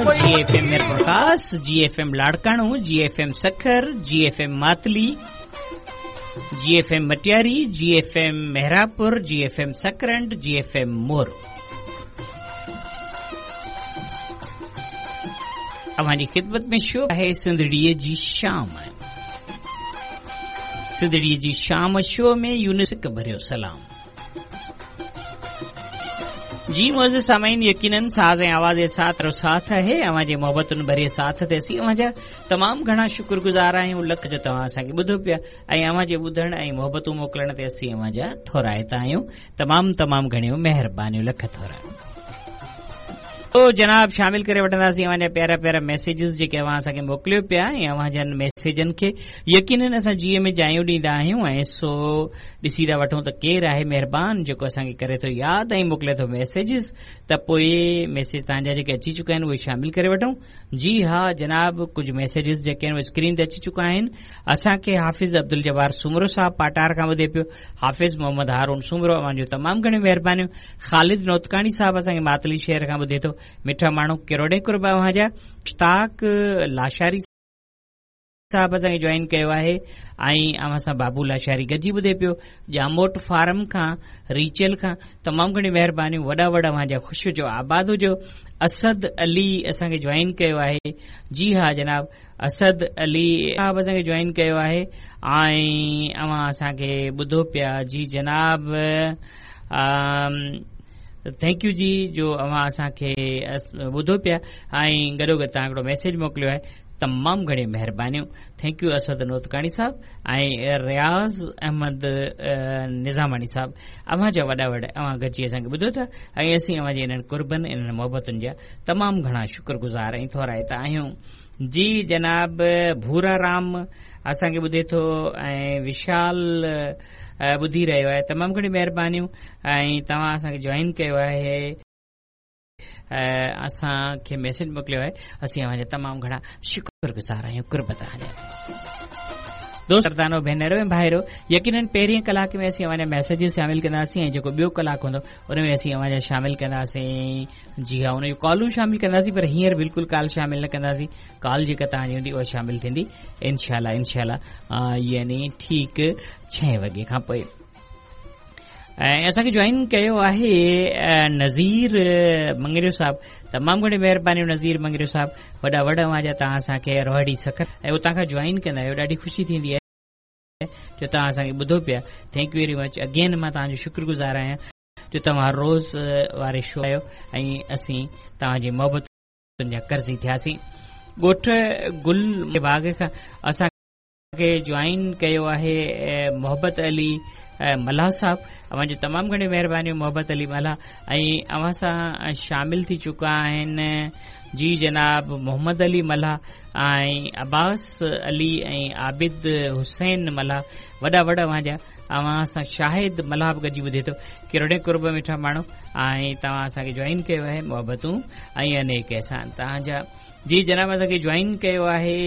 G F M Mirpurkhas, G F M Larkana, G F M Sukkur, G F M Matli, G F M Matiari, G F M Mehrabpur, G F M Sakrand, G F M Moro. اوهان جي خدمت ۾ show آهي سنڌڙيء جي شام. سنڌڙيء جي شام show ۾ Younis سڪ ڀريو سلام. جي معزز سامعين يقينن ساز ۽ آواز جي ساٿ رو ساٿ آهي اوهان جي محبتن ڀري ساٿ تي اسين اوهان جا تمام گهڻا شڪر گذار آهيون لک جو توهان اسان کي ٻڌو پيا ۽ اوهان جي ٻڌڻ ۽ محبتون موڪلڻ تي اسين اوهان جا ٿورائتا آهيون تمام تمام گهڻيون مهربانيون لک ٿورا. تو جناب شامل ڪري وٺنداسين اوهان جا پيارا پيارا ميسيجز جيڪي اوهان اسان کي موڪليو پيا ۽ اوهان جن ميسيجن کي يقينن اسان جيء ۾ جايون ڏيندا آهيون ۽ سو ڏسي ٿا وٺون ته ڪير آهي مهربان جيڪو اسان کي ڪري ٿو ياد ۽ موڪلي ٿو ميسيجز ته پوء ميسيج توهان جا جيڪي اچي چڪا آهن اهي شامل ڪري وٺون جي ها جناب ڪجهه ميسيجز جيڪي آهن اهي اسڪرين تي اچي چڪا آهن اسان کي حافظ عبدالجبار سومرو صاحب پاٽار کان ٻڌي پيو حافظ محمد هارون سومرو اوهان جون تمام گهڻيون مهربانيون خالد نوتڪاڻي صاحب اسان کي ماتلي شهر کان ٻڌي ٿو مٺا ماڻهو ڪروڙين قرب اوهان جا مشتاق لاشاري صاحب اسان کي جوائن ڪيو آهي ۽ اوهان سان بابو لاشاري گڏجي ٻڌي پيو ڄاموٽ فارم کان ريچل کان تمام گهڻيون مهربانيون وڏا وڏا اوهان جا خوش هجو آباد هجو اسد علي اسان کي جوائن ڪيو آهي جي ها جناب اسد علي صاحب اسان کي جوائن ڪيو آهي ۽ اوهان اسان کي ٻڌو پيا جي جناب thank you جي جو اوهان اسان کي ٻڌو پيا ۽ گڏو گڏ توهان هڪڙو ميسيج موڪليو آهي تمام گهڻيون مهربانيون thank you Asad Notkani صاحب ۽ رياض احمد نظاماڻي صاحب اوهان جا وڏا وڏا اوهان گڏجي اسان کي ٻڌو ٿا ۽ اسين اوهان جي انهن قربن انهن محبتن جا تمام گهڻا شڪر گذار ۽ ٿورائتا آهيون جي جناب ڀورا رام اسان کي ٻڌي ٿو ۽ وشال ٻڌي رهيو آهي تمام گهڻيون مهربانيون ۽ توهان اسان کي جوائن ڪيو آهي اسان کي ميسيج موڪليو آهي اسين اوهان جا تمام گهڻا شڪر گذار آهيون قرب توهان جا دوست مردانو ڀينرو ۽ ڀائرو يقينن پهرين ڪلاڪ ۾ اسين اوهان جا ميسيجز شامل ڪنداسين ۽ جيڪو ٻيو ڪلاڪ هوندو ان ۾ اسين اوهان جا شامل ڪنداسين جي ها ان جون ڪالون شامل ڪنداسين پر هينئر بلڪل ڪال شامل نه ڪنداسين ڪال جيڪا توهان جي هوندي اها شامل ٿيندي انشاء الله انشاء الله يعني ٺيڪ ڇهين وڳي کان پوء ۽ اسان کي جوائن ڪيو آهي نذير مڱريو صاحب تمام گهڻي مهرباني نذير مڱريو صاحب وڏا وڏا اوهان جا توهان اسان کي روهڙي سکر ۽ اتان کان جوائن ڪندا آهيو ڏاڍي خوشي ٿيندي آهي جو توهان اسان کي ٻڌو پيا thank you very much again مان توهان جو شڪر گذار آهيان جو توهان روز واري شو آيو ۽ اسين توهان جي محبتن جا قرضي ٿياسين ڳوٺ گل باغ کان اسان کي جوائن ڪيو آهي محبت علي ملاح صاحب اوهان جون تمام گهڻيون مهربانيون محبت علي ملاح ۽ اوهان سان شامل ٿي چڪا آهن جي جناب محمد علي ملاح ۽ عباس علي ۽ عابد حسين ملاح وڏا وڏا اوهان جا اوهان سان شاهد ملاح به گڏجي ٻڌي ٿو ڪروڙين قرب مٺا ماڻهو ۽ توهان اسان کي جوائن ڪيو آهي محبتون ۽ انيڪ احسان توهان جا جي جناب اسان کي جوائن ڪيو آهي.